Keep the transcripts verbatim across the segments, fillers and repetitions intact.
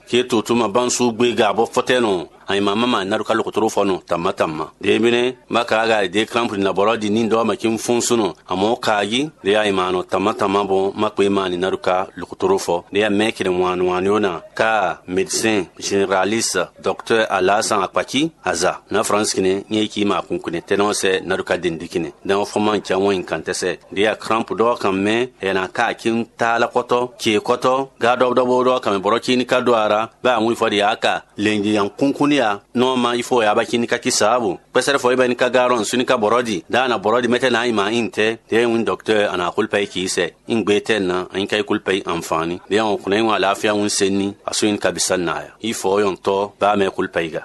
Kí tutuma bánsú gbéga bɔ fɔtɛnɔ anyima mama na ɖo ka lokotorofɔnɔ tama tama. Ɖe bene ma ka ga ɖe krampu na bɔlɔ di ni dɔ ma kin fun sunu. Amɔ ka yi ɖe anyima nɔ tama tama bɔ ma kpe ma ni na ɖo ka lokotorofɔ. Ɖe ya mɛ kene wan wan yo na ka médecin généraliste docteur Alasan Akpaki aza na France kene nye ki ma kun kene tɛnɔ sɛ na ɖo ka den di kene. Dan fɔma ja wɔn kan tɛsɛ. Ɖe ya krampu dɔ kan mɛ ya na ka kin ta la kɔtɔ ke kɔtɔ ga dɔ dɔ bo dɔ kan mɛ bɔlɔ ki ni ka do ara. Bɛ a ŋun ifɔ ɖi aka lɛnji yan kunkun ya nɔ ma ifɔ ya ba ki ni ka ki saabu. Kpɛsɛrɛ fɔ iba ni ka ga rɔn su ni ka bɔrɔ di da na bɔrɔ di mɛtɛ na ima in tɛ. Tɛ ŋun dɔktɛ ana kulpa yi ki sɛ. In gbe tɛ na an ka yi kulpa yi anfani. Bɛ an kunɛ ŋun alafia ŋun se ni asu in ka bisa na ya. Ifɔ yɔn tɔ ba mɛ kulpa yi ga.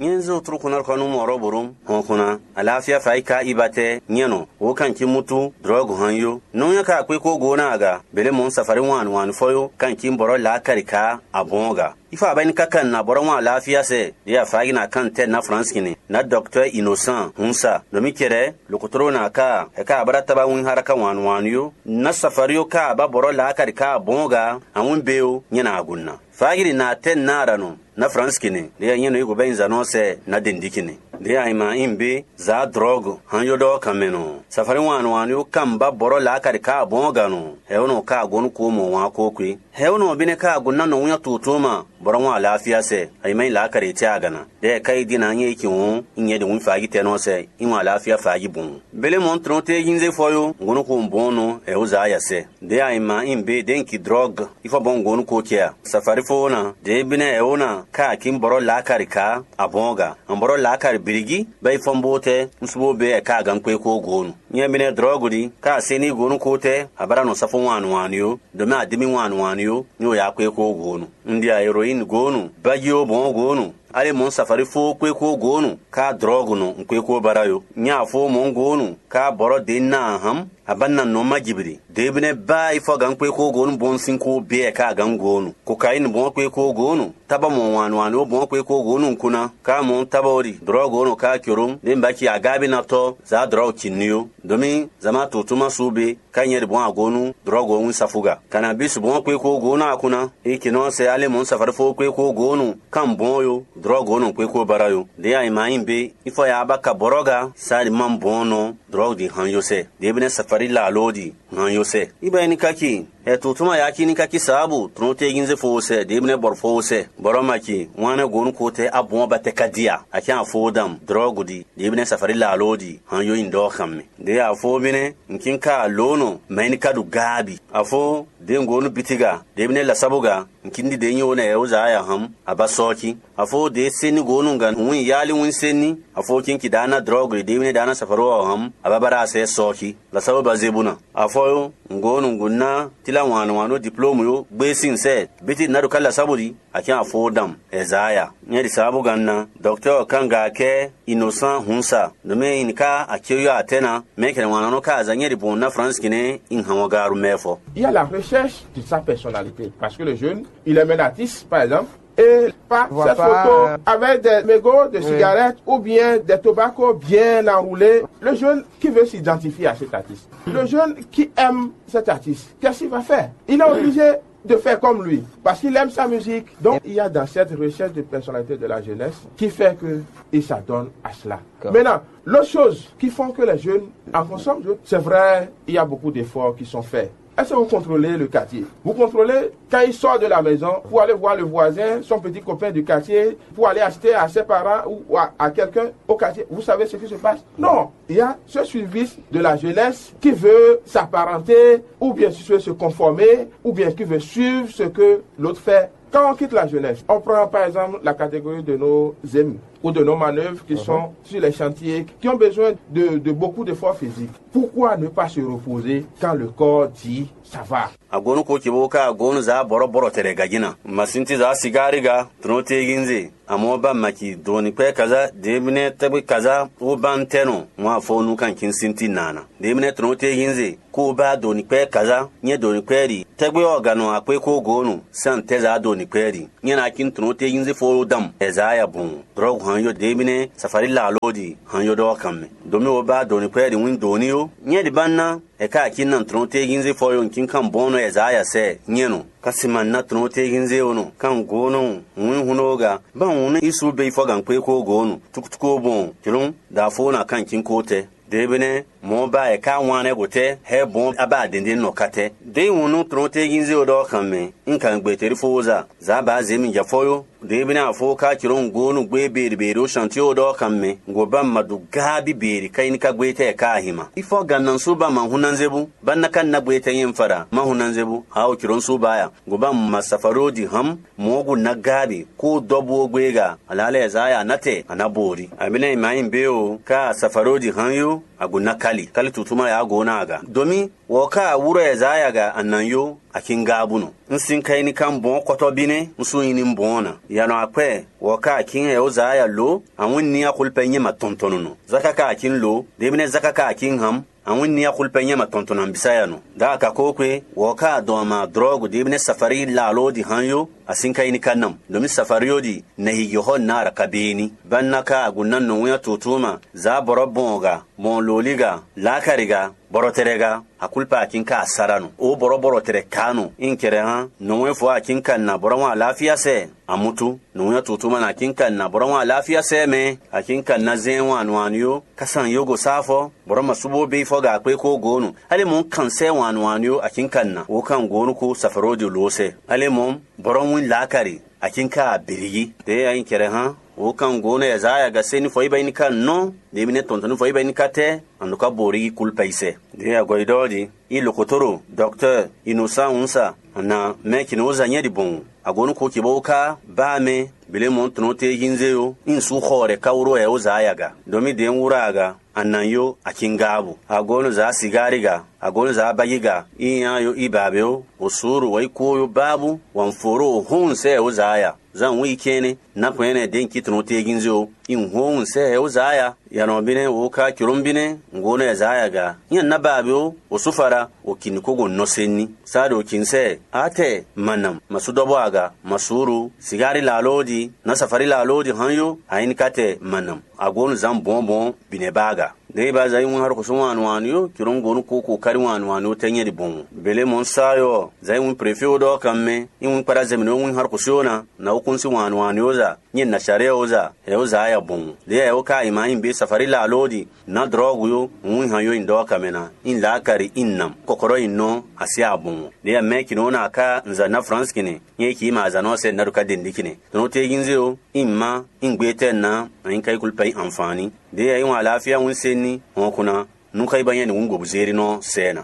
Nyɛnzin otrukunarkɔnu mɔrɔ borom hɔnkunna alafia faika ibatɛ nyɛnɔ wo kan kimutu drɔg han yo. Nɔnya ka akpé kó go na aga bele mɔ safari wan wan fɔ yo kan kim bɔrɔ la kari ka abɔn ga. Ifa abani ka kan na bɔrɔ wan alafia sɛ de afagi na kan tɛ na France kini na docteur Innocent hunsa domi kɛrɛ lokotoro na ka e ka abara taba win haraka wan wan yo na safari yo ka aba bɔrɔ la kari ka abɔn ga awin be yo nyɛ na agunna. Fagiri na tɛ na ara nɔ na France kini de ya nyɛ no iko bɛ nzanɔ sɛ na dendi kini de ya ima in be za drɔg han yo dɔ kan mɛ nɔ. Safari wan wan yo kan ba bɔrɔ la kari ka abɔn ga nɔ. Hɛ o nɔ ka agun ko mɔ wan ko kwe. Hɛ o nɔ bine ka agun na nɔ wun to to ma bɔrɔ wan alafia sɛ. Ayi mai la kari ti agana. De ka yi dina nye ki won in nye de wun fagi tɛ nɔ sɛ in wan alafia fagi bun. Bele mɔ trɔn te yin ze fɔ yo ngunu ko bɔn nɔ hɛ o za ya sɛ. De ayi ma in be den ki drɔg ifɔ bɔn ngonu ko kɛ a. Safari fo na de bine hɛ o na ka akin bɔrɔ la kari ka abɔn ga. An bɔrɔ la kari birigi bɛ ifɔ bo tɛ nsubo be ɛ ka gan kwe ko gonu. Nyɛ bine drɔg di ka se ni gonu ko tɛ abara nɔ safo wan wan yo. Domi adimi wan wan yo ni o ya kwe ko gonu. Ndi a heroin gonu baji o bɔn gonu. Ale mɔ safari fo kwe ko gonu ka drɔg nɔ nkwe ko bara yo. Nya fo mɔ gonu ka bɔrɔ de na ham aba na nɔ ma jibiri. De bine ba ifɔ gan kwe ko gonu bɔn sin ko be ka gan gonu. Kokain bɔn kwe ko gonu. Taba mɔ wan wan o bɔn kwe ko gonu kuna. Ka mɔ taba ori drɔg ono ka kyorom. De ba ki agabi na tɔ za drɔg kinni yo. Domi zama to tuma su be ka nyɛ de bɔn agonu drɔg o win safuga. Kana bisu bɔn kwe ko gonu akuna. E kinɔ sɛ ale mɔ safari fo kwe ko gonu kan bɔn yo drɔg ono kwe ko bara yo. De ayi ma yin be ifɔ ya ba ka bɔrɔ ga sa di man bɔn nɔ drɔg di han yo sɛ. De bine safari la lo di han yo sɛ. Iba ni kaki. Ɛ tutuma ya ki ni kaki sabu trɔn te yin ze fo sɛ de bine bɔr fo sɛ. Bɔrɔ ma ki wan ne gonu ko te abɔn ba te ka dia. A ki an fo dam drɔg di de bine safari la lo di han yo in dɔ kan me. De a fo bine nkin ka lo no mɛ ni ka du gabi. A fo de ngonu bitiga de bine la sabu ga. Nkindi de nyi wo na yɛ wozaa ya hɔn a ba sɔɔki. A fo de seni go nu nga hun yali wun seni. A fo kinki da na drɔg de wine da na safaro ɔ hɔn a ba bara a sɛ sɔɔki. La sabu ba zebu na. A fo yo ngo nu ngu na tila wan wan no diplôme yo gbe sin sɛ. Biti na do ka la sabu di a kin a fo dam. Ezaya nyɛ di sabu gan na docteur kan ga kɛ innocent hunsa. No me in ka a kyo yo atɛna. Me kɛnɛ wan no ka a za nyɛ di bon na France kine in hɔn garu mɛ fɔ. Il y a la recherche de sa personnalité. Parce que le jeune, il aime un artiste, par exemple, et pas cette photo avec des mégots de cigarettes ou bien des tobacco bien enroulés. Le jeune qui veut s'identifier à cet artiste. Le jeune qui aime cet artiste, qu'est-ce qu'il va faire? Il est obligé de faire comme lui, parce qu'il aime sa musique. Donc, il y a dans cette recherche de personnalité de la jeunesse qui fait que il s'adonne à cela. Maintenant, l'autre chose qui font que les jeunes en consomment, c'est vrai, il y a beaucoup d'efforts qui sont faits. Est-ce que vous contrôlez le quartier? Vous contrôlez quand il sort de la maison pour aller voir le voisin, son petit copain du quartier, pour aller acheter à ses parents ou à, à quelqu'un au quartier. Vous savez ce qui se passe? Non. Il y a ce suivi de la jeunesse qui veut s'apparenter ou bien se conformer ou bien qui veut suivre ce que l'autre fait. Quand on quitte la jeunesse, on prend par exemple la catégorie de nos amis ou de nos manœuvres qui sont sur les chantiers, qui ont besoin de, de beaucoup d'efforts physiques. Pourquoi ne pas se reposer quand le corps dit ça va? Agonu ko cibo ka agonu za bɔrɔ bɔrɔ tɛrɛ gajina. Masinti za sigari ga, trono te ginze. Amɔ ba maki doni kpɛ kaza, demine tɛgbe kaza, wo ban tɛno, mwa fo nu kan kin sinti nana. Demine trono te ginze, ko ba doni kpɛ kaza, nye doni kpɛ di. Tɛgbe ɔ ganɔ akpe ko gonu, san tɛza doni kpɛ di. Nye na kin trono te ginze fo dam, ezaya bon. Drɔg han yo deebínɛ́ safalí laalódi han yo ɖɔ ɔ́ kan mɛ. Domi wo ba doni kwɛ ɖi wín doni ó. Nyɛ ɖi ba ná, ɛ ka akin na trɔn te ginze fɔ yo nkin kan bɔn nɔ ɛzaya sɛ nyɛ nɔ. Kasi ma na trɔn te ginze o nɔ kan go nɔ wín hun nɔ ga. Ba hun ne isu be fɔ gan kpe ko go nɔ. Tukutuku bɔn jlɔn da fo na kan kin ko tɛ. Deebínɛ́ mɔ̌ ba ɛ ka wán nɛ́ gotɛ́ hɛ́ bɔn a ba dɛndɛn nɔ katɛ. Dě yi wun nú tlɔ́n téjín zé o ɖɔ xan mɛ, un kan gbe teri fó za. Zǎ ba zě mi jɛ fɔ́yó. Deebínɛ́ afó ka jló un gó nú gbé beɖebeɖe ɖó shantíó ɖɔ xan mɛ. Ngǒ ba ma ɖu gáá bíbeɖe ka nyí ní ka gbé tɛ́ ká ahin ma. Ifɔ gannɔ sú ba ma hun ná zé bú, ba ná ka ná gbé tɛ́ nyɛ un fa ɖa ma hun ná zé bú. A o jló un sú ba ya. Ngǒ ba ma safaɖó ɖi hǎn. Mɔ̌ gu ná gáá ɖe kó dɔ́ bú ó gbé ga. Alǎ lɛ́ɛ zǎ ya ná tɛ a ná bo rí. Abinɛ ma nyí bé o, ká safaɖó ɖi hǎn yó. Agu ná kali kali tutuma ya go na aga domi. Wɔ ka wúrɔ ya zaya ga anan yo akin ga bunu. N sin ka ini kan bɔn kɔtɔ bine n su ini bɔn na. Ya nɔ akpɛ wɔ ka akin ya o zaya lo. Awin ni akulpɛ nyɛ ma tɔntɔn no zaka ka akin lo. Debine zaka ka akin ham. Awin ni akulpɛ nyɛ ma tɔntɔn na bisa ya no. Da ka ko kwe wɔ ka dɔn ma drɔgu debine safari la lo di han yo. Asin ka ini ka nam domi safari yo di. Nɛ hi yohɔ na ara ka bini. Banna ka agu na no winya tutuma. Za bɔrɔ bɔn ga. Mɔn loli ga, lakari ga, bɔrɔ tɛrɛ ga, akulpa akin ka asara no. O bɔrɔ bɔrɔ tɛrɛ kanu. In kɛrɛ hã, nɔwɛn fɔ akin ka na bɔrɔ wọn alafia sɛ. Amutu, nɔwɛn tutu ma na akin ka na bɔrɔ wọn alafia sɛ mɛ. Akin ka na zɛn wan anu ani yo, kasan yogo safɔ, bɔrɔ ma subo be fɔ ga kpe ko gonu. Ale mɔ kan sɛ wan anu ani yo akin ka na. O kan gonu ko safaro di lo sɛ. Ale mɔ bɔrɔ ŋun lakari. Akin ka abirigi. Te ayin kɛrɛ hã. O kan go ne Yesaya ga se ni fɔ iba ini ka nɔ. Debi ne tɔntɔn ni fɔ iba ini ka tɛ. An ka bori kulpa isɛ. De agɔ idɔ di. I lokotoro, docteur, innocent unsa. Ana mɛ kini o za nyɛ di bon. Agonu ko kibo ka ba mɛ. Bile mɔ tɔnɔ te yin ze yo. In su xɔ rɛ ka wuro ɛ o za ya ga. Domi de wura aga. Anan yo akingaabo. Agonu za sigari ga. Agonu za abagi ga. Inya yo ibabe o. Osuru wa ikuo yo babu. Wan foro o hun se ɛ o za ya. Zan wí kɛ́nɛ́ ná kɔn ɛnɛ dě nyí tɔnɔ téegínzé ó. Nyí hɔn sɛ ɛ ó zǎ ya. Yanɔ bínɛ́ wǒ ká jlǒm bínɛ́ ŋgó nɔ ɛ zǎ ya ga. Nyí ná ba abě ó, wǒ sú fara, wǒ kǐ ní kó go nɔ se ní. Sá ɖo kǐ sɛ, átɛ, ma nam, ma sú dɔ́bɔ́ aga, ma sú ɖu, sigári la alódi, ná safari la alódi hán yó, a nyí ní ká tɛ ma nam. Agonu zǎn bɔ̌nbɔ́n bǐ nɛ́ ba aga. Ɖěe ba za yi wún Harukúsú wǎn nú wǎn yó, jlǒ ŋgó nú kókó káɖí wǎn nú wǎn yó tɛ́ nyɛ ɖi bɔn. Bělé mɔ sá yɔ, za yi wún prefé ó ɖɔ kan mɛ, yi wún kpaɖa zɛ mǐ nɔ wún Harukúsú ó ná, na wú kún sí wǎn nú wǎn yó za, nyɛ nǎ sá ɖé ó za, ɛ ó za ya bɔn. Ɖě ɛ ó ka yi ma nyi bě safari la aló ɖi, nǎ dlɔ́ hu yó, wún han yó nyi ɖɔ kan mɛ ná, nyi lǎ kari nyi nam, kɔkɔɖɔ nyi nɔ, así a bɔn. Ɖě ɛ mɛ kinɔ ó ná ká nza ná Fransi kinɛ, nyɛ yi ki ma azǎn ɔ́ sɛ nǎ ɖo ká ɖe nǔɖé kinɛ. Tɔnɔ téegínzé ó, nyi má, nyi gbé tɛ́ ná, anyi ká yi kúlú pɛ nyi anfaani. Ɖě ɛ yi wǎn aláfíà wún sé ní, hɔn kún ná, nú xá yi ba nyɛ nǔ wún gǒbúzééɖínɔ sɛɛ ná.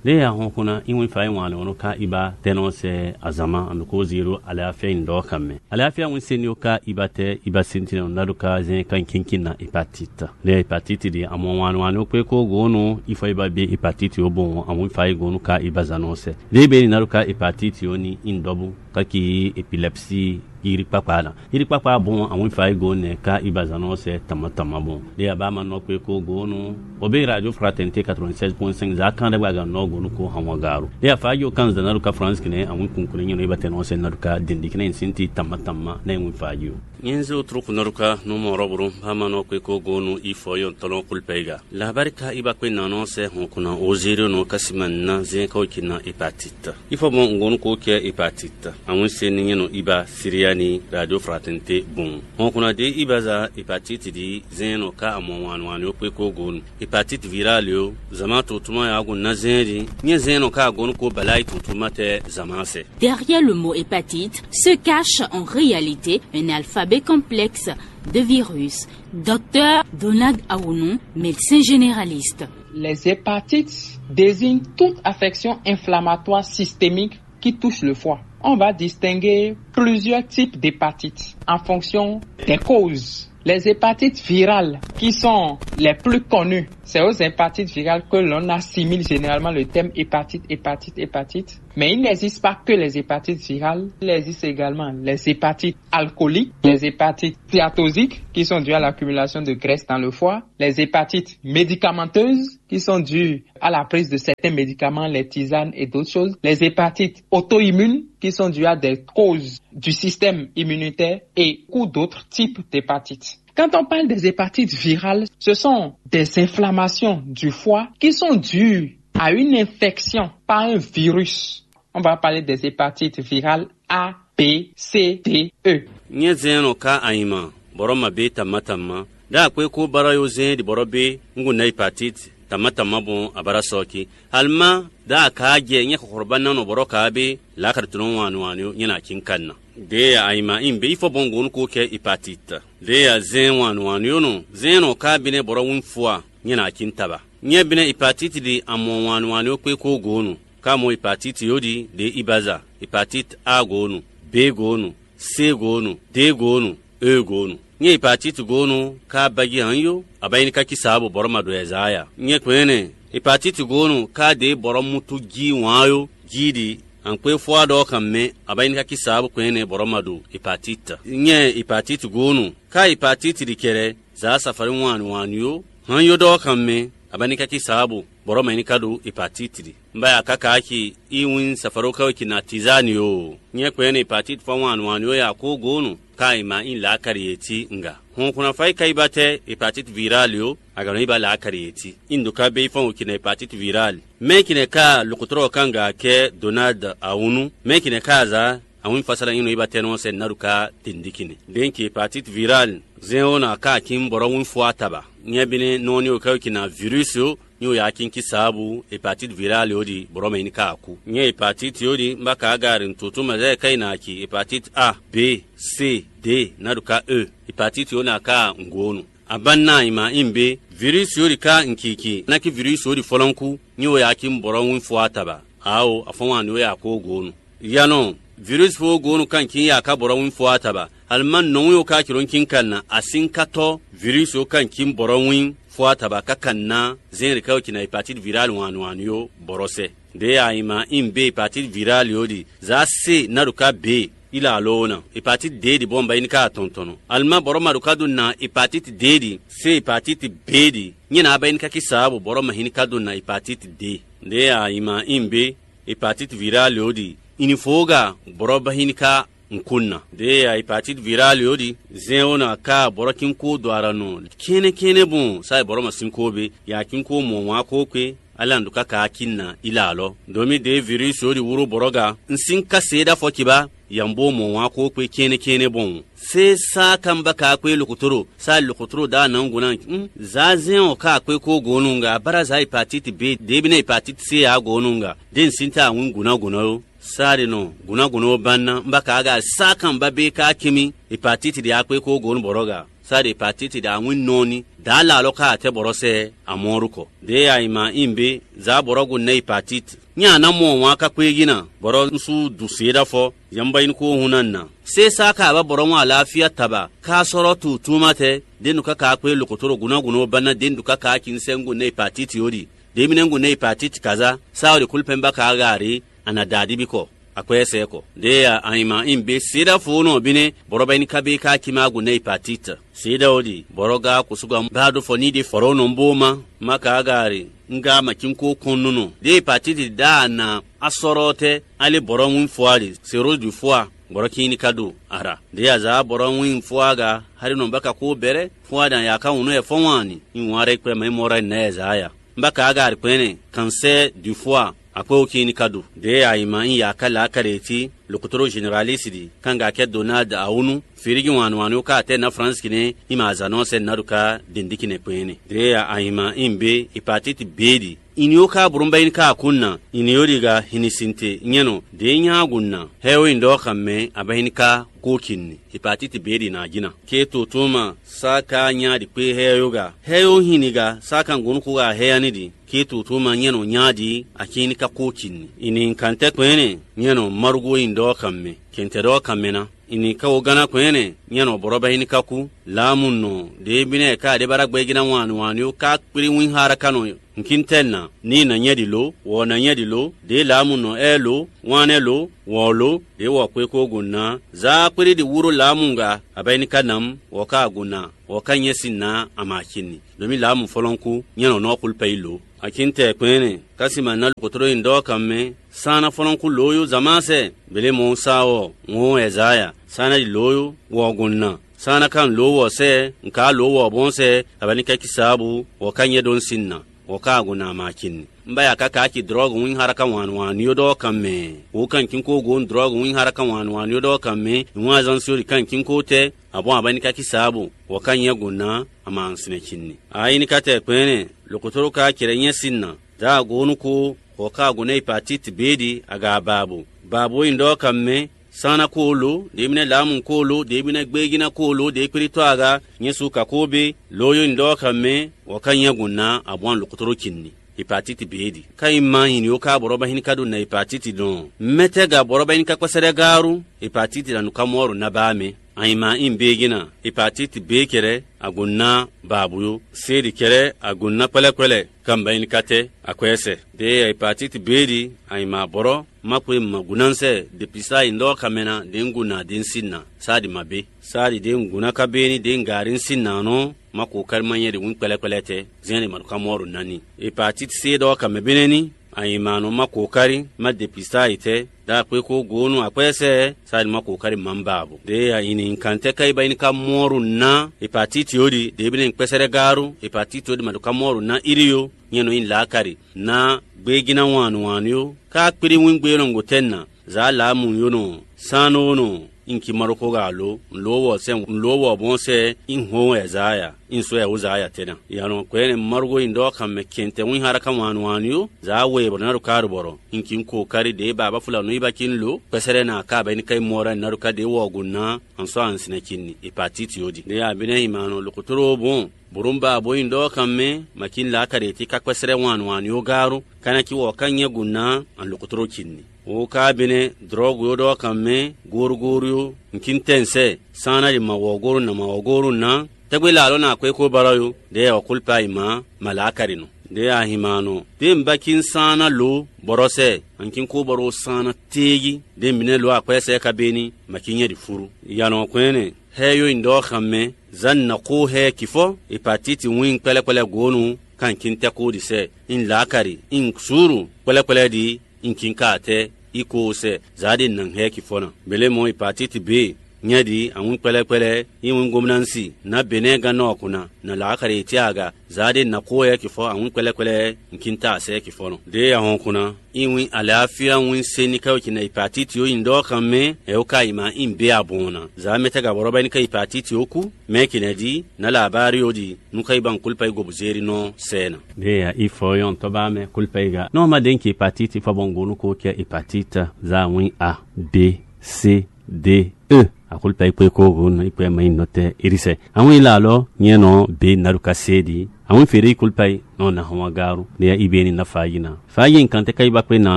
Ɖěe a hɔn xó ná, í wɛ́n fa é wǎn lɛ́ ɔ́ nɔ ká iba tɛ́ nɔ sɛ azǎn ma, a nɔ ko zíro alɛ afia nyi ɖɔ kan mɛ. Alɛ afia wɛ́n sɛ́n yó ká iba tɛ́ iba sɛ́n tɛ́ nɔ ná ɖó ká zɛ́n ká nyi kínkín ná hepatite. Lě hepatite ɖi amɔ wǎn wǎn kpé kó gǒ nú ifɔ iba bí hepatite ó bɔn àwọn ifa yi gǒ nú ká iba zǎn nɔ sɛ. Lě bɛ ní ná ɖó ká hepatite ó ní in dɔ́bú káki epilepsie yírí kpákpá ná. Yírí kpákpá bɔn àwọn ifa yi gǒ nɛ ká iba zǎn nɔ sɛ tama tama bɔn. Lě abá ma nɔ kpé kó gǒ nú o bí radio fraternité quatre-vingt-seize point cinq zǎ kán ɖé gbaga nɔ gǒ nú kó hàn wọ́n gǎ ro. Lě afá yó kán zǎn ná ɖó ká France kìnɛ àwọn kùnkùn nyɛ nɔ iba tɛ nɔ sɛ ná ɖó ká dèndé kìnɛ sin ti tama tama ná ìwọ̀n fa yó. Nyinzi o trúkú nɔ ɖó ká nú mɔ rɔ́bùrú bá ma nɔ kpé kó gǒ nú ifɔ yó tɔlɔ kúlpɛ yi gǎ. Lahabari ka iba kpé nanɔ sɛ hɔn kunna o zéro nɔ kásima ná zɛn ká o ci na hepatite. Ifɔ bɔ ŋgɔnu ko kɛ hepatite. Àwọn se ni nyɛ nɔ iba Siriani radio fraternité bon. Hɔn kunna de iba za hepatite di zɛn nɔ ká amɔ wan wan yo kpé kó gonu. Hepatite virale yo, zama to tuma ya gun na zɛn di. Nyɛ zɛn nɔ ká gonu ko balayi to tuma tɛ zama sɛ. Derrière le mot hépatite se cache en réalité un alphabet complexe de virus. Docteur Donald Aounou, médecin généraliste. Les hépatites désignent toute affection inflammatoire systémique qui touche le foie. On va distinguer plusieurs types d'hépatites en fonction des causes. Les hépatites virales, qui sont les plus connues, C'est aux hépatites virales que l'on assimile généralement le terme hépatite, hépatite, hépatite. Mais il n'existe pas que les hépatites virales, il existe également les hépatites alcooliques, les hépatites stéatosiques, qui sont dues à l'accumulation de graisse dans le foie, les hépatites médicamenteuses, qui sont dues à la prise de certains médicaments, les tisanes et d'autres choses, les hépatites auto-immunes, qui sont dues à des causes du système immunitaire, et beaucoup d'autres types d'hépatites. Quand on parle des hépatites virales, ce sont des inflammations du foie qui sont dues à une infection par un virus. On va parler des hépatites virales A, B, C, D, E. Nyɛ zɛn nɔ ka anyima bɔrɔ ma be tamma tamma. Da akpe ko bara yo zɛn di bɔrɔ be ngun na hépatite tamma tamma bon abara sɔki. Alma da ka jɛ nyɛ kɔkɔrɔba na nɔ bɔrɔ ka be la ka tɔnɔ wan wan yo nyɛ na kin kan na. De ya anyima in be ifɔ bɔn gon ko kɛ hépatite. De ya zɛn wan wan yo no zɛn nɔ ka bine bɔrɔ wun fua nyɛ na kin taba. Nyɛ bine hépatite di amɔ wan wan yo kpe ko gonu. Ka mɔ hepatite yo ɖi ɖě ibaza, hepatite A goonu, B goonu, C goonu, D goonu, E goonu. Nyɛ hepatite goonu ka baji han yo, abayini ka kisa bo bɔrɔ ma ɖo ɛza ya. Nyɛ kpɛnɛ hepatite goonu ka ɖe bɔrɔ mutu ji wan yo ji ɖi ankpé fɔa ɖɔ kan mɛ, abayini ka kisa bo kpɛnɛ bɔrɔ ma ɖo hepatite. Nyɛ hepatite goonu ka hepatite ɖi kɛrɛ za safari wan wan yo han yo ɖɔ kan mɛ, abayini ka kisa bo bɔrɔ ma ini ka ɖo hepatite ɖi. Mbaya kaka ki iwin safaroka ki na tizani o. Nyɛ kpɛn ne hepatite fɔ wan wan yo ya ko gonu ka ima in la kari eti nga. Hon kuna fa ka iba tɛ hepatite virale o, agano iba la kari eti. Indo ka be fɔn ki na hepatite virale. Mɛ ki ne ka lokotoro ka nga kɛ Donald Awunu. Mɛ ki ne ka za awin fasala yin iba tɛ no sɛ naru ka tendikini. Den ki hepatite virale zɛn o na ka kin bɔrɔ wun fo ataba. Nyɛ bine nɔni o ka ki na virus o. Nyi o ya kin ki sabu hepatite virale o di bɔrɔ mɛ ini ka ku. Nyɛ hepatite o di mba ka gari ntutu mɛ zɛ ka ina ki hepatite A, B, C, D, na du ka E. Hepatite o na ka ngonu. Aban na ima in be virus o di ka nkiki na ki virus o di fɔlɔnku. Nyi o ya kin bɔrɔ wun fo ataba. Awo afɔnwan ni o ya ko gonu. Yanɔ virus fo gonu kan kin ya ka bɔrɔ wun fo ataba. Alima nɔnwi o ka ciro kin kan na asin ka tɔ virus o kan kin bɔrɔ wun fo ataba ka kan na zɛn de ka o kin na hepatite virale wan wan yo bɔrɔ sɛ. De ya ima in be hepatite virale o di za se na do ka be ila alo na hepatite de di bɔn ba in ka tɔntɔnɔ. Alima bɔrɔ ma do ka do na hepatite de di se hepatite be di. Nyɛ na ba in ka ki sabu bɔrɔ ma hin ka do na hepatite de. De ya ima in be hepatite virale o di ini fo ga bɔrɔ ba hin ka nkun na. De ya hepatite virale o di zɛn o na ka bɔrɔ kin ko do ara nɔ kene kene bon sa bɔrɔ ma sin ko be ya kin ko mɔ wan ko kpe ala ndo ka ka kin na ila alɔ. Domi de virus o di wuro bɔrɔ ga n sin ka se da fɔ kiba ya n bo mɔ wan ko kpe kene kene bon. Se sa ka n ba ka kpe lokotoro sa lokotoro da na n gona n za zɛn o ka kpe ko gonu nga bara za hepatite be de bi na hepatite se ya gonu nga de n sin ta wun guna guna yo. Sari nɔ gunagunɔ ɔ́ ba ná bá ka aga sá kan ba bé ká kinmí hepatiti ɖe akpé kó gonu bɔrɔ ga. Sari hepatiti ɖe awín nɔɔni dǎ la alɔ ká atɛ bɔrɔ sɛ amɔɔru kɔ. Ɖe ayi ma in bé zá bɔrɔ gu nɛ hepatiti. Nyɛ a ná mɔ wan ká kpé yí na bɔrɔ nsu du se ɖa fɔ yamba in kó hun na na. Se sá ka ba bɔrɔ ŋu alafia taba ká sɔrɔ tu tuma tɛ. Denu ká ká kpé lokotoro gunagunɔ ba ná denu ká ká kin sɛ ŋu nɛ hepatiti odi. Ɖe mi nɛ ŋu nɛ hepatiti kaza sá odi kulpɛn ba ka aga re. A nǎ da ɖi bí kɔ akwɛ́ sɛɛ kɔ. Ɖěe a anyima in bé seɖáfowónɔ ɔ́ bí nɛ́ bɔrɔbɛ́ni ká bé ká cí má gu nɛ́ yi patít. Seɖáwó ɖi bɔrɔgá kosúgba bá ɖó fɔ ní ɖi fɔ̌rɔ́nɔ bó má má ka aga ɖi. Un ga ma cí kó kɔn nú nɔ ɖěe patít ɖá a nǎ a sɔ́ɖɔ tɛ́ alé bɔrɔ́ wín fɔ́ a ɖi seródu fɔ́ a bɔrɔ́ cí ní ká ɖo a ɖa. Ɖěe a zǎ bɔrɔ́ wín fɔ́ a ga xaɖinɔ bá ka kó bɛ́rɛ́ fɔ́ a ɖi a yǎ ká wǔnú ɛ fɔ́ wǎn ni. Un wǎn ɖɛkpɛ mɛ mɔ́ ɖɔ nɛ́ ɛ zǎ ya. Mbaka agari kpɛnɛ kansɛ du fɔ a akpɛ o kini ka do. De ayima in ya ka la ka de ti lokotoro generalisi di kanga kɛ Donald Awunu firigi wan wan ka tɛ na France kine ima azanɔ sɛ na do ka dendiki ne kpɛnɛ. De ayima in be hepatite B di. Ini o ka burumba in ka kun na ini o di ga hinisinte nyɛnɔ de nya gun na hɛ o in dɔ ka mɛ aba in ka ko kinni. Hepatite B di na jina. Ke to tuma sa ka nya di kpe hɛ yo ga. Hɛ yo hini ga sa kan gonu ko ga hɛ ani di. Ke tutu ma nyɛ nɔ nya ɖi akin ka ko ci ni. Ini kan tɛ kpɛnɛ nyɛ nɔ marugo in dɔ kan mɛ. Kɛntɛ dɔ kan mɛ na. Ini ka wo gánná kɔn ɛnɛ nyɛ nɔ bɔrɔ bɛ hín ka kú. Laamu nɔ ɖě bínɛ ka ɖé bá ɖagbe gíná wan nǔ wan ó ka kplí wín xá ɖaka nɔ nkíntɛ́ nǎ ní nǎ nyɛ ɖi lǒ, wɔ̌ ná nyɛ ɖi lǒ, ɖě laamu nɔ ɛ lǒ, wán ɛ lǒ, wɔ̌ lǒ, ɖě wɔ kpé kó gɔn ná. Zaa kplí ɖi wúró laamu ŋga, abɛ ní ka nǎ mú, wɔ ka agun ná, wɔ ka nyɛ sín ná ama acinni. Ɖo mì laamu fɔlɔ́nkú, nyɛ nɔ nɔ xwlú pɛ yi lǒ. Akíntɛ kpɛ́nɛ, ká sí ma ná lukotoro nyi ɖɔ kan mɛ, sán ná fɔlɔ́nkú lǒ yó zamásɛ, bělé mɔ sá ɔ́, ŋó Ɛzaya, sán ná yi lǒ yó, wɔ gɔn ná, sán ná kan lǒ wɔ sɛ, nka lǒ wɔ bɔn sɛ, abɛ ní ka ki saabu, wɔ ka nyɛ ɖó sín ná, wɔ ka agun ná ama acinni. Un ba ya káká ci drɔ́ɔgu wín xáɖaká wǎn wǎn yó ɖɔ kan mɛ. Wǒ kan cínkó gǒ un drɔ́ɔgu wín xáɖaká wǎn wǎn yó ɖɔ kan mɛ. Nǔ azɔn sí ó ɖi kan cínkó tɛ́, abɔ́ abɛ ní ka ki saabu, wɔ ka nyɛ gǔ ná ama sinɛ cinni. Ayi ní ka tɛ kpɛ́nɛ, lǒkotoro ka cɛɖɛ nyɛ sín ná. Dǎ agǒ nú kó, wɔ ka agǒ ná yi patíti béɖi aga abaabu. Baabu e nyí ɖɔ kan mɛ, sán ná kó ó lǒ, ɖě mì nɛ́ lǎmu kó ó lǒ, ɖě mì nɛ́ gbéjí ná kó ó lǒ, ɖě kplítɔ́ aga, nyɛ su ka kó bé, lǒ yó nyí ɖɔ kan mɛ, wɔ ka nyɛ gǔ ná abɔ́ lǒkotoro cinni. Hepatiti B ɖi. Ka yi ma nyi ní ó ka bɔrɔ ba hín ka ɖo na hepatiti dɔn. Mɛtɛ ga bɔrɔ ba hín ka kpɛsɛ ɖɛ gaaru, hepatiti la nu ka mɔ ɔ́ ɖo na ba mɛ. Anyi ma in be gina, hepatiti B kɛrɛ, agun na babu yo. C ɖi kɛrɛ, agun na kpɛlɛ kpɛlɛ, kan ba hín ka tɛ, akwɛsɛ. De hepatiti B ɖi, anyi ma bɔrɔ, ma kwe ma gunanse, de pisa yi ndɔ kamɛna, de ngu na de nsi na, sa ɖi ma be. Sa ɖi de ngu na ka be ni de ngari nsi na nɔ, ma ko kari ma nyɛ ɖi wín kpɛlɛkpɛlɛ tɛ, zɛn ɖi ma ɖo ka mɔ ɖo nani. Hepatiti C ɖɔ ka mɛ bínɛ ní, anyǐmánɔ ma ko kárí, ma de pisa yi tɛ, ɖa kpé kó gǒ nú akwɛ́sɛ, sa ɖi ma ko kárí ma ba abo. De anyǐ ní kan tɛ ka yi ba yi ní ka mɔ ɖo ná, hepatiti ó ɖi, de bínɛ kpɛsɛ ɖɛ gaaru, hepatiti ó ɖi ma ɖo ka mɔ ɖo ná iri yo, nyɛ nɔ nyi lǎkari, ná gbégíná wan nǔwanú yo, ka kplí wín gbé nɔ gotɛ́ ná, zǎ lǎmu yo nɔ, sánó nɔ, in ki ma ɖokpó ga alo, un lǒ wɔ sɛ, un lǒ wɔ bɔn sɛ, in hɔn wɛ zǎ ya, in sɔ́ ya wǒ zǎ ya tɛ́ ná. Yǎnɔ kwɛ́ nɛ Marugo nyi ɖɔ kan mɛ kɛntɛ wín xá ɖó ka wan nǔwanú yo, zǎ we bɔ ná ɖo ká ɖo bɔrɔ, in ki un ko kárí ɖě ba bá fúla nǔ yi ba cí un lo, kpɛsɛ́ɖɛ ná ká bɛ ní ká yi mɔ ɖɔ ná ɖo ká ɖě wɔ go ná, an sɔ́ an sinɛ cí ni, hepatiti ó ɖi. Ɖě abínɛ́ yi ma nɔ lǒkotóló bɔn, bǒ ɖó un ba bó nyi ɖɔ kan mɛ, ma cí un la ká ɖě tí ká kpɛsɛ́ɖɛ wan nǔwanú yo gá ɖó, ka ná cí wɔ ka nyɛ gu ná an lǒkotóló ci n'i. Wo ka bínɛ́ dlɔ̌gu yo ɖɔ kan mɛ, górógórí yo, un cí un tɛ́ un sɛ, sán ná ɖi ma wɔ̌góru nǎ ma wɔ̌góru ná, tɛ́gbé la alɔ ná akwɛ́ kó bálɔ́ yo, ɖě yɛ ɔ́ kúlpa yi mǎ, ma lǎ ka ɖi nɔ. Ɖě a hin ma nɔ, ɖě un ba cí un sán ná lǒ, bɔ́ ɖɔ sɛ, an cí kó bɔ́ ɖó sán ná téé jí, ɖě mǐ nɛ́ lǒ akwɛ́ sɛ́ ka bé ní, ma cí nyɛ ɖi fúru. Yǎnɔ kwɛ́nɛ, hɛ́ yó nyi ɖɔ xan mɛ, zǎn nǎ xó hɛ́ kifɔ́, hepatiti wín kpɛ́lɛ́kpɛ́lɛ́ gónu, kan cí un tɛ́ kó ɖi sɛ, un lǎ ka ɖi, un suúru kpɛ́lɛ́kpɛ́lɛ́ ɖi, un cí un ka atɛ, í ko sɛ, zǎ ɖé nǎ hɛ́ kifɔ́ ná. Bělé mɔ hepatiti B, nyɛ ɖi awún kpɛ́lɛ́kpɛ́lɛ́, í wín gomnansi, nǎ Benɛ́ɛ gán nɔ ɔ́ kún ná, nǎ lǎ xɛɖɛ yi tɛ́ aga, zǎ ɖé nǎ xó yɛ kifɔ́ awún kpɛ́lɛ́kpɛ́lɛ́, un cí un ta asɛ kifɔ́ nɔ. Ɖěe a hɔn kún ná, í wín alɛ̌afíá wín se ní ká wɛ ci nɛ hepatiti ó nyi ɖɔ kan mɛ, ɛ ó ka yi ma í bé abɔn ná. Zǎ mɛ tɛ́ gǎ bɔ́ ɖɔ bá ní ká hepatiti ó kú, mɛ kì nɛ́ ɖi, nǎ lǎ bá rí ó ɖi, nú ká yi ba un kúlpa yi gobu zérí nɔ sɛ ná. Ɖěe a ifɔ yɔn tɔ́ ba mɛ kúlpa yi ga. Nɔ ma ɖe un ci hepatiti fɔ bɔ un gonu ko kɛ hepatiti zǎ wín A, B, C, D, E. Akulpa ikpe ko go no ikpe ma yi nɔte irise. Awin la lɔ nyɛ nɔ be naruka se di. Awin fere kulpa yi nɔ na hɔn garu. Ne ya ibe ni na fa yi na. Fa yi kan te kai ba kpe na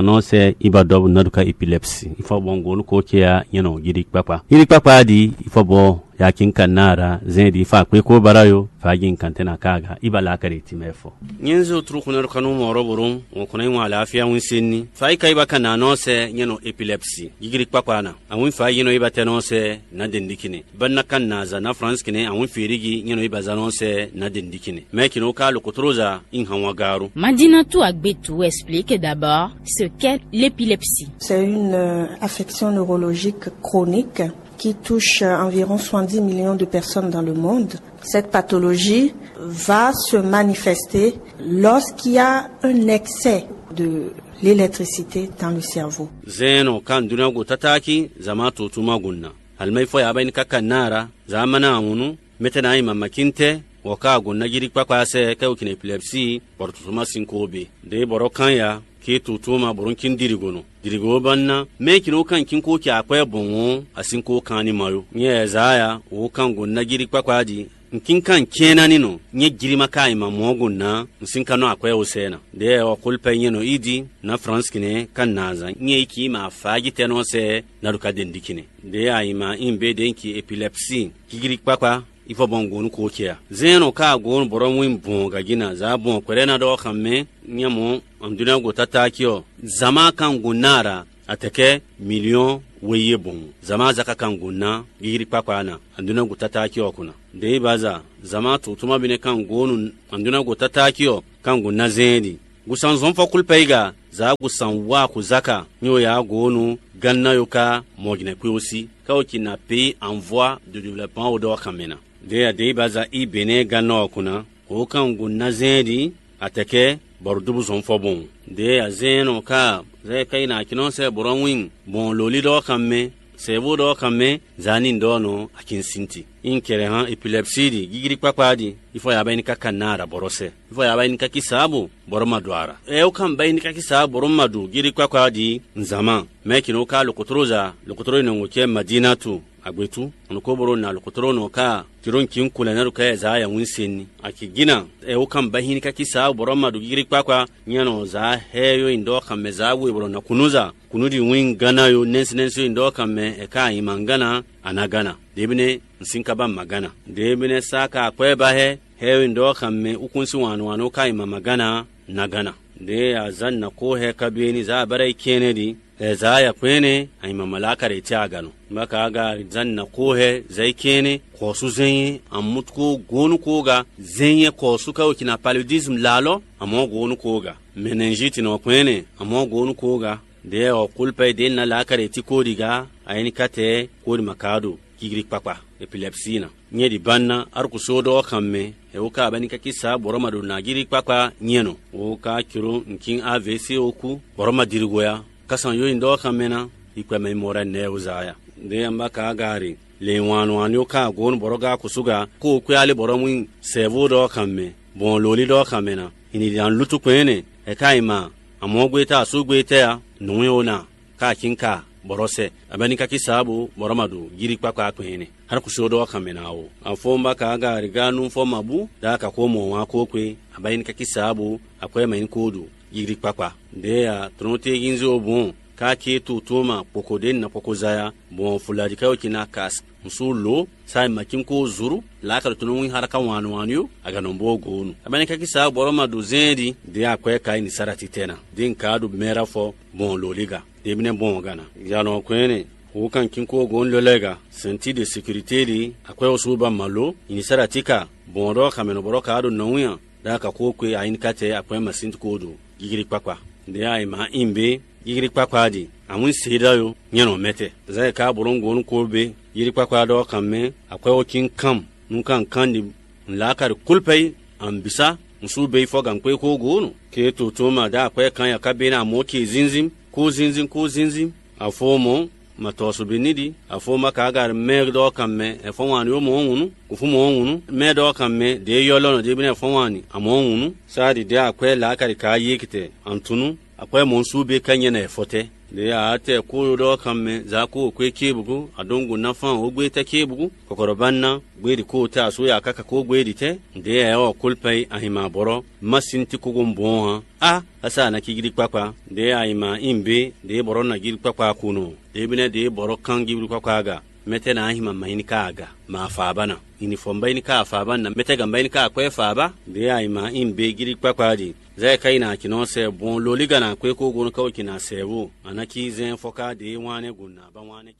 nɔ se iba dɔb naruka epilepsi. Ifɔ bɔn go no ko ce ya nyɛ nɔ yiri kpakpa. Yiri kpakpa di ifɔ bɔ ya kin ka nara zɛn di fa kpe ko bara yo. Fa yi kan te na kaga iba la kare ti mɛ fɔ. Nyɛnzɛ o turu kunɛ ɖo kanu mɔ ɔrɔ borom, ŋɔ kɔnɔ yi ŋɔ alafia ŋun sen ni. Fa yi ka yi ba ka na nɔ se nyɛ nɔ epilepsi. Yiri kpakpa na. Awin fa yi nɔ yi ba tɛ nɔ se na den dikine. Ba na kan na za na France kine awin feri gi nyɛ nɔ yi ba za nɔ se na den dikine. Mɛ kino ka lo kotoro za in han wa garu. Madinatu Agbetu explique d'abord ce qu'est l'épilepsie. C'est une euh, affection neurologique chronique qui touche euh, environ soixante-dix millions de personnes dans le monde. Cette pathologie va se manifester lorsqu'il y a un excès de l'électricité dans le cerveau. Zeno kan duna go tataki zama to tuma gunna. Almai fo ya bain kaka nara zamana awunu mete na ima makinte waka gunna jiri kpakpa se ke ukin epilepsi bor to tuma sinko be. De boro kan ya ki to tuma borun kin dirigono. Dirigo banna me kino kan kin ko ki akwe bonwo asin ko kan ni mayo. Nye Ezaya wo kan gunna jiri kpakpa di Un kínkan cɛ́n ná ní nɔ, nyɛ jlí ma ka yi ma mɔ̌ go nǎ, un sín ka nɔ akwɛ́ wo sɛ ná. Ɖěe ɔ xolupɛ nyɛ nɔ ídi, nǎ Fransknɛ ka nǎ zán nyɛ yi kí ma fǎ jí tɛ́ nɔ sɛ ná ɖo ka ɖe nǔɖikinɛ. Ɖěe a yi ma ín bé ɖě un ki epilɛpsii, kíkíɖí kpákpá, yi fɔ bɔn gǒ nú xó ce a? Zɛ́n nɔ ka gǒ nú bɔ̌ ɖɔ wín bɔn gǎjí ná, zǎ bɔn kwɛɖɛ́ ná ɖɔ xan mɛ, nyɛ mɔ, un ɖó ná go tátáki ɔ́, zǎn ma kan gǒ ná a ɖa, atɛkɛ miliyɔn we yi e bɔn. Zǎn ma za ka kan gǒ ná, kíkíɖí kpákpá ná, un ɖó ná go tátáki ɔ́ ko ná. Ɖěe ba za, zǎn ma to tuma bi nɛ kan gǒ nú, un ɖó ná go tátáki ɔ́, kan gǒ ná zɛ́n ɖi. Gusan zɔn fɔ kúlú pɛ yi ga, zǎ gusan wá xo zaka, nyo ya gǒ nú gánná yo ka mɔ jnɛ kpé ó sí, ká o ci na pé anvɔ́ do ɖiblɛ pán o ɖɔ xan mɛ ná. Ɖě a ɖě ba za í běnɛ́ gánná ɔ́ kún ná, xo kan gǒ ná zɛ́n ɖi, atɛkɛ, bɔ ɖo dúbú zɔn fɔ bɔn. Ɖě a zɛ́n nɔ ká, zɛ ka yi na kinɔ sɛ bɔ̌ wín, bɔn lǒlí ɖɔ xan mɛ, sɛ̌vo ɖɔ xan mɛ, zǎ ní ɖɔ nɔ akinsinti. Ín kɛlɛ hán epilɛpsii ɖi, gígíɖí kpákpá ɖi, ifɔ ya bɛ ní káká ná aɖa bɔ̌ sɛ. Ifɔ ya bɛ ní kákí sǎbo, bɔ̌ ma ɖo ara. Ɛ ó kan bɛ ní kákí sǎbo, bɔ̌ ma ɖo gígíɖí kpákpá ɖi, nzǎn ma. Mɛ kinɔ ka lɔkɔtɔlɔza, lɔkɔtɔlɔ nɔ ŋo cɛ Madinatu, agbetú, ɔnɔ ko boro na lɔkɔtɔlɔ nɔ ka, tiro nci ku lɛ na ɖo ka ɛza ya wín sen ni. Akigina, ɛ ó kan bɛ hín kákí sǎbo, bɔ̌ ma ɖo gígíɖí kpákpá, nyanɔ zǎ hɛ yó nyi ɖɔ xan mɛ zǎ we bɔ̌ na kunúza. Kunu ɖi wín gánná yo nɛ́nsɛ́nɛ́nsɛ́ yi ɖɔ kan mɛ ɛ ká nyi ma gánná, a nǎ gánná. Ɖěbínɛ́ un sín ka ba ma gánná. Ɖěbínɛ́ sá ka akwɛ́ ba hɛ, hɛ yi ɖɔ kan mɛ ukún sín wǎn wǎn ka nyi ma ma gánná, ná gánná. Ɖě azǎn ná kó hɛ ka byɔ́ ní zǎ abáɖá yi kɛ́nɛ́ ɖi, ɛzǎ ya kpɛ́nɛ́ a nyi ma ma lá ka ɖe tɛ́ aga nɔ. Má ka aga zǎn ná kó hɛ zǎ yi kɛ́nɛ́, kɔ̌sú zɛ́nyɛ́, amútúkó gónú kó ga, zɛ́nyɛ́ kɔ̌sú ká wecina paludisme lǎlɔ́, amɔ̌ gónú kó ga. Mɛnɛnzíti nɔ kpɛ́nɛ́, amɔ̌ gónú kó ga. Ɖě ɔ́, kólúpɛ e ɖě un ná lǎ ka ɖe tí kóɖi gá, ayɛnikátɛ kóɖi ma ka ɖo gígíɖí kpákpá, epilɛpsii ná. Nyɛ ɖi ban ná arúkúsú ɖɔ ɔ́ kan mɛ, ɛ wó ka abɛ́ ní kákí sá bɔ̌ ma ɖo nǎgíɖí kpákpá nyɛ nɔ. Wó ka jló un kín A V C ó kú, bɔ̌ ma diri hwe á. Kásan yó nyi ɖɔ ɔ́ kan mɛ ná, yi kpɛ mɛ mɔ ɖɛ nɛɛ wó zá ya. Ɖě un ba ka Agári, lě wǎn wǎn yó ka gǒ nú bɔ̌ gá kúsú gá, kó kwɛ́ alé bɔ̌ mú sɛ̌vú ɖɔ ɔ́ kan mɛ, bɔn lǒlí ɖɔ ɔ́ kan mɛ ná. Yin ɖi ɖan lútu kpɛ́n nɛ́, ɛ ka nyi ma, amɔ̌ gbé tá asú gbé tɛ́ a, nǔ e ó ná. Ka akín ka bɔ̌ sɛ, abɛ́ ní kákí sǎ bó bɔ̌ ma ɖo yíɖí kpákpá kpɛn nɛ́. Xánkúsú ɖɔ xan mɛ ná ó. Afɔ́n bá ka aga riga nú fɔ ma bú, ɖá ka xó mɔ wǎn kó kpé, abɛ́ ní kákí sǎ bó akwɛ́ mɛ ní kó ɖo yíɖí kpákpá. Ɖě a tlɔ́n téyínzé ó bɔn, ká ké to tó ma kpoko ɖě na kpoko zaya, bɔn fulaɖi ká yó ci ná kas. Ŋsu lǒ, sa e ma cín kó zuru, lǎ ka ɖo tó nɔ wín xáɖaká wǎn wǎn yó, a gǎ nɔ bó gǒ nu. Abɛ́ ní kákí sǎ bɔ̌ ma ɖo zɛ́n ɖi, ɖě akwɛ́ ka yi ní sá ɖo atitɛ ná. Ɖě un ka ɖo mɛ ɖa fɔ, bɔn lǒ lí ga. Ɖěbínɛ́ bɔn ɔ́ gana. Yǎnɔ kwɛ́nɛ, wǒ kan kínkó gǒ un lɛ́ lɛ́ɛ ga. Sɛ̌ntíɖe sekirité ɖi, akwɛ́ ɔ́ sú ba mǎ ló, nyi ní sá ɖo atí ka, bɔn ɔ́ ɖɔ xamɛ nɔ bɔ́ ɖɔ ka ɖo nɔwín a, ɖá ka xó kwe ayínikátɛ akwɛ́ masín ko ɖo gígíɖí kpákpá. Ɖě a yi mǎ in bé, gígíɖí kpákpá ɖi, awín se ɖá yo, nyɛ nɔ mɛtɛ. Zǎn e ka bɔ́ nɔ gǒ nú ko bé, gígíɖí kpákpá ɖɔ kan mɛ, akwɛ́ ɔ́ cí kan, nú kan kan ɖi Nlá ka ɖo kúlúpɛ yí, an bǐ sá, un sú be yi fɔ gǎnkpé xó gǒ nɔ. Ké to tún ma dó akwɛ́ kan ya ká bé ná amɔ̌ ce zínzín, kó zínzín, kó zínzín. Afo mɔ̌, ma tɔ́ so bí ní ɖi, afo ma ka aga mɛ ɖɔ kan mɛ, ɛfɔ́ wǎn yó mɔ̌ hǔnú, kúfú mɔ̌ hǔnú, mɛ ɖɔ kan mɛ, ɖě yɔ́lɔ́ nɔ ɖé bí ná ɛfɔ́ wǎn ni, amɔ̌ hǔnú. Sá ɖi ɖě akwɛ́ lǎ ka ɖi ka yí kitɛ, an tún nú. Akwɛ́ mɔ̌ sú bé ká nyɛ ná ɛfɔ tɛ́. Ɖě a tɛ kó ɖɔ kan mɛ, za kó kwé cébugu, adóngo ná fán wǒ gbé tɛ́ cébugu, kɔkɔɖɔ ba ná, gbé ɖi kó tɛ́ asú ya káká kó gbé ɖi tɛ́. Ɖě a ɔ́ kólpɛ yi ahin ma bɔ́rɔ, má sín tí kókó bɔn hàn. Á, asa na cí gíɖí kpákpá. Ɖě a yi ma in bé, ɖě bɔ́rɔ na gíɖí kpákpá ko nɔ. Ɖě bí nɛ́ ɖě bɔ́rɔ kán gíɖí kpákpá aga. Mɛtɛ́ na ahin ma ma nyí ní ká aga, ma fa ba ná. Ini fɔ mbá ní ká fa ba ná, mɛtɛ́ gǎn mbá ní ká akwɛ́ fa ba. Ɖě a yi ma in bé gíɖí kpákpá ɖi. Zɛ ka yi na kinɔ sɛ bɔn lolí gana kwé kó gɔn ka o kina sɛ wo. Ana ki zɛn fɔ ka de wan ne gun na ba wan ne.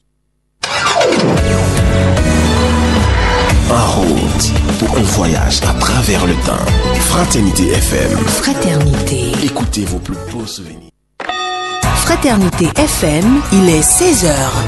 En route pour un voyage à travers le temps. Fraternité F M. Fraternité. Écoutez vos plus beaux souvenirs. Fraternité F M, il est seize heures.